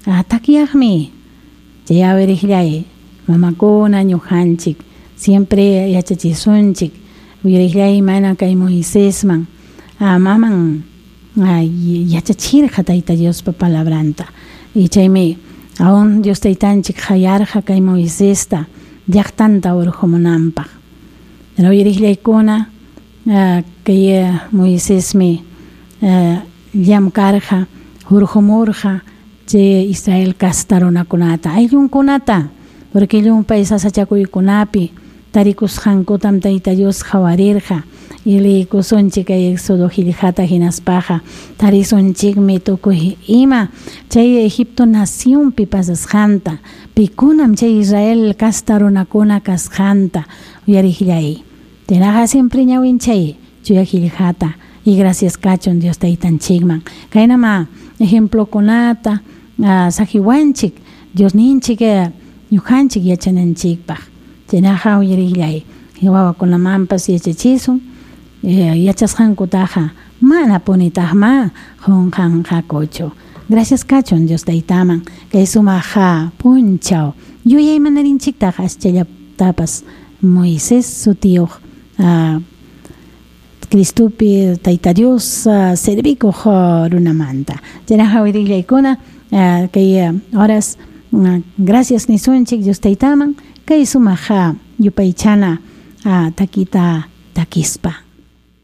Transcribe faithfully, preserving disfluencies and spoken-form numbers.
Takyaqmi chay awiriqllay mamakuna ñuqanchik siempre yachachisunchik uyariqllay mana kay Moisesman maman yachachirqa Tayta Diospa palabranta y chaymi aún Dios taytanchik qayarqa kay Moisesta llaqtanta urqumunanpaq. Uyariqllaykuna kay Moisesmi llamkarqa hurqumurqa chay Israel casta runakunata ayllunkunata porque llumpay sasachakuykunapi tarikusqankutam Tayta Dios qhawarirqa y liykusunchik kay Éxodo qillqata hinaspaqa tarisunchikmi tukuy ima chay Egipto nacionpi pasasqanta pikunam chay Israel casta runakuna kasqanta uyariqllay tinaqa siempre ñawinchay chuya qillqata y gracias kachun Dios taytanchikman kaynama ejemplokunata saqiwanchik Diosninchik ñuqanchik yachananchikpaq chaynaqa uyariqllay wawakunamanpas yachachisun yachasqankutaqa mana punitaqma qunqanqakuchu. Gracias kachun Dios taytaman kay sumaq punchaw yuyaymanarинchiktaq aschallatapas Moisés sutiyuq Cristopi Tayta Dios servikuq runamanta. Chaynaqa uyariqllaykuna kay horas gracias nisunchik Dios taytaman kay sumaq yupaychana takita takispa.